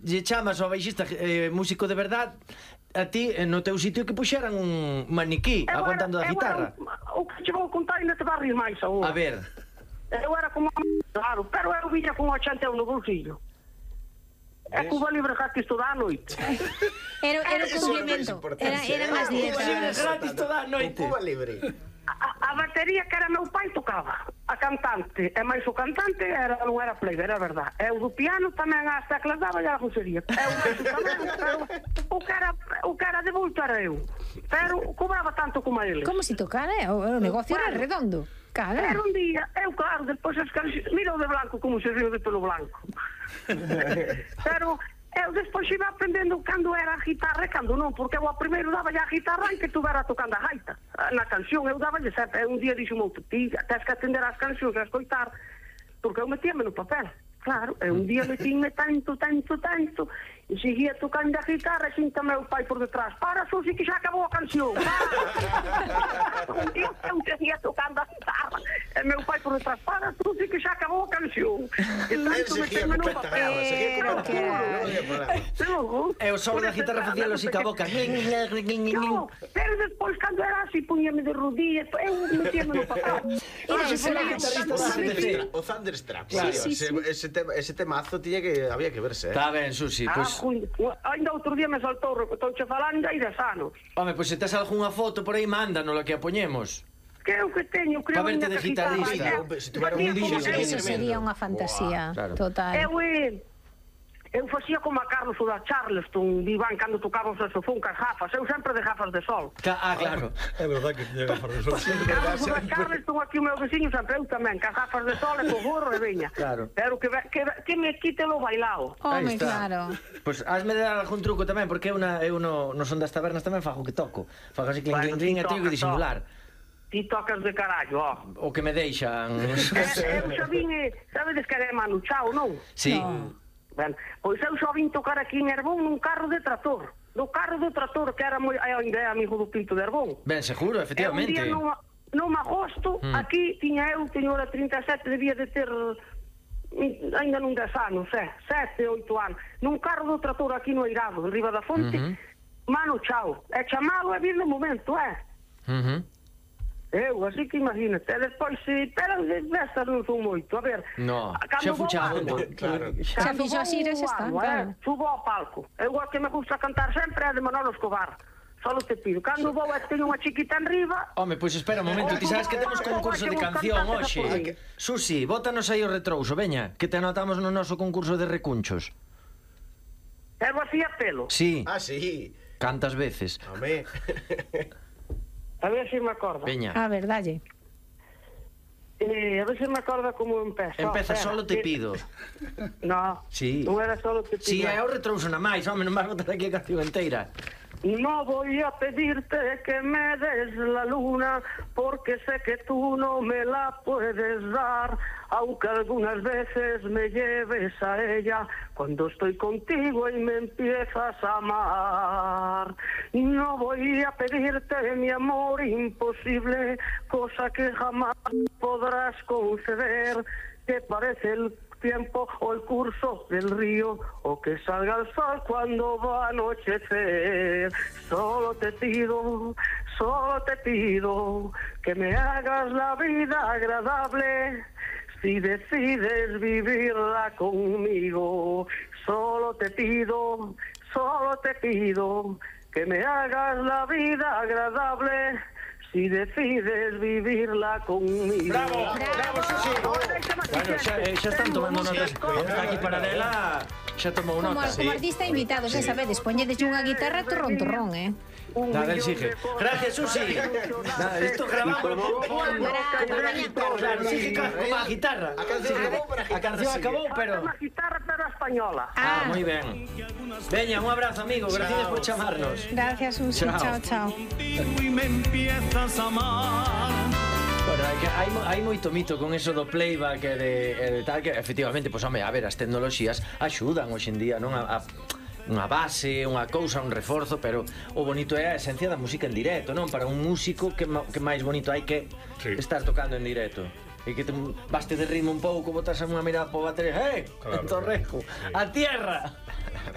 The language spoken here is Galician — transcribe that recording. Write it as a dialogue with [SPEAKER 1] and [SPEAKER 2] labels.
[SPEAKER 1] lle chamas ao baixista músico de verdad, a ti no teu sitio que puxeran un maniquí aguantando a guitarra.
[SPEAKER 2] O que che vou contar ainda te vai rir máis agora.
[SPEAKER 1] A ver.
[SPEAKER 2] Eu era como claro, pero eu viña con 80 € no bolsillo. É Cuba Libre gratis toda a noite.
[SPEAKER 3] Era un complemento. Eran as dietas.
[SPEAKER 1] Gratis toda a noite.
[SPEAKER 4] Cuba Libre.
[SPEAKER 2] A batería que era meu pai tocaba. A cantante, e máis o cantante non era plega, era verdad. E o do piano tamén as teclas daba e a funcionía. E o máis tamén, pero o que era de bulto era eu. Pero cobraba tanto como ele.
[SPEAKER 3] Como se tocara, o negocio era redondo. Cara.
[SPEAKER 2] Era un día, eu claro, depois as cancións, mira o de blanco como se riu de pelo blanco. Pero eu despois iba aprendendo cando era a guitarra e cando non, porque eu ao primeiro daba a guitarra e que estuvera tocando a gaita. Na canción eu daba sempre, un día dixo outro, ti tens que atender as cancións e a escoitar, porque eu metíame no papel. Claro, e un día metíme tanto, e seguía tocando a guitarra e sinta meu pai por detrás. Para, Susi, que xa acabou a canción. Un día eu seguía tocando a guitarra e meu pai por detrás. Para, Susi, que xa acabou a canción. E tanto metíme no papel.
[SPEAKER 1] E o solo da guitarra facía lo sica a boca.
[SPEAKER 2] No, pero despois, cando era así, puñame de rodillas, eu metíame no papel.
[SPEAKER 4] O Thunderstruck. Ese temazo había que verse.
[SPEAKER 1] Está ben, Susi, pois...
[SPEAKER 2] Ainda outro día me saltou, estou falando hai 10 anos.
[SPEAKER 1] Home, pois se tes algunha foto por aí, mándanos que a poñemos.
[SPEAKER 2] Que eu que teño, creo
[SPEAKER 1] que de guitarrista.
[SPEAKER 3] Eso sería unha fantasía total.
[SPEAKER 2] Eu facía como a Carlos o da Charleston, Iván, cando tocaba o saxofón cas gafas. Eu sempre de gafas de sol.
[SPEAKER 1] Claro.
[SPEAKER 5] É verdad que tiña gafas de sol.
[SPEAKER 2] Carlos o da Charleston, aquí o meu veciño, sempre eu tamén, cas gafas de sol e co gorro e veña.
[SPEAKER 1] Claro.
[SPEAKER 2] Pero que me quite lo bailao.
[SPEAKER 3] Home, claro.
[SPEAKER 1] Pois hasme de dar algún truco tamén, porque eu no son das tabernas tamén fago que toco. Fago así clink, clink, e teño que disimular.
[SPEAKER 2] Ti tocas de carallo, ó.
[SPEAKER 1] O que me deixan.
[SPEAKER 2] Eu xa vin, sabedes que é Manu Chao, non?
[SPEAKER 1] Sí.
[SPEAKER 2] Ben, pois eu só vim tocar aquí en Herbón nun carro de trator. Do carro do trator, que era ainda é amigo do Pinto de Herbón.
[SPEAKER 1] Ben, seguro, efectivamente.
[SPEAKER 2] E un día non agosto, aquí teño hora 37, debía de ter ainda non 10 anos, 7, 8 anos. Nun carro do trator aquí no Eirado, en Riba da Fonte, Mano Chao. E chamalo e vir no momento, Eu, así que imagínate, despois pero destas non son moito, a ver.
[SPEAKER 1] No, xa fuchado.
[SPEAKER 3] Xa fixo así, xa está, claro.
[SPEAKER 2] Subo ao palco. Eu que me gusta cantar sempre é de Manolo Escobar. Solo te pido, cando vou teño unha chiquita en riba.
[SPEAKER 1] Home, pois espera un momento, ti sabes que temos concurso de canción hoxe. Susi, bótanos aí o retrouso, veña, que te anotamos no noso concurso de recunchos.
[SPEAKER 2] Eu hacía pelo.
[SPEAKER 1] Sí.
[SPEAKER 4] Ah, sí.
[SPEAKER 1] Cantas veces.
[SPEAKER 4] Home.
[SPEAKER 2] A ver se me acorda.
[SPEAKER 1] Veña.
[SPEAKER 3] A ver, dalle.
[SPEAKER 2] A ver se me acorda como empeza.
[SPEAKER 1] Empeza, solo te pido.
[SPEAKER 2] No,
[SPEAKER 1] sí.
[SPEAKER 2] Non era solo te pido.
[SPEAKER 1] Si, é o retrouso na máis, home, non vas botar aquí a canción inteira.
[SPEAKER 2] No voy a pedirte que me des la luna, porque sé que tú no me la puedes dar, aunque algunas veces me lleves a ella cuando estoy contigo y me empiezas a amar. No voy a pedirte mi amor imposible, cosa que jamás podrás conceder, que parece el tiempo o el curso del río, o que salga el sol cuando va a anochecer. Solo te pido que me hagas la vida agradable si decides vivirla conmigo. Solo te pido que me hagas la vida agradable si decides vivirla conmigo.
[SPEAKER 1] Bravo, bravo, Susi. Bueno, xa están tomando notas. Está aquí Paradela, xa tomou notas.
[SPEAKER 3] Como artista invitado, xa sabedes, poñedes unha guitarra torrón,
[SPEAKER 1] Nada, exige. Gracias, Susi. Nada, esto grabamos. Claro, sí, como a guitarra. A canción acabou, pero...
[SPEAKER 2] A guitarra, pero española.
[SPEAKER 1] Ah, moi ben. Veña, un abrazo, amigo. Gracias por chamarnos.
[SPEAKER 3] Gracias, Susi. Chao.
[SPEAKER 1] Bueno, hai moito mito con eso do playback e de tal, que efectivamente, pois, home, a ver, as tecnoloxías axudan hoxe en día, non? Unha base, unha cousa, un reforzo, pero o bonito é a esencia da música en directo, non? Para un músico que máis bonito hai que estar tocando en directo. E que baste de ritmo un pouco, botas unha mirada po batería, claro, torrejo, a tierra.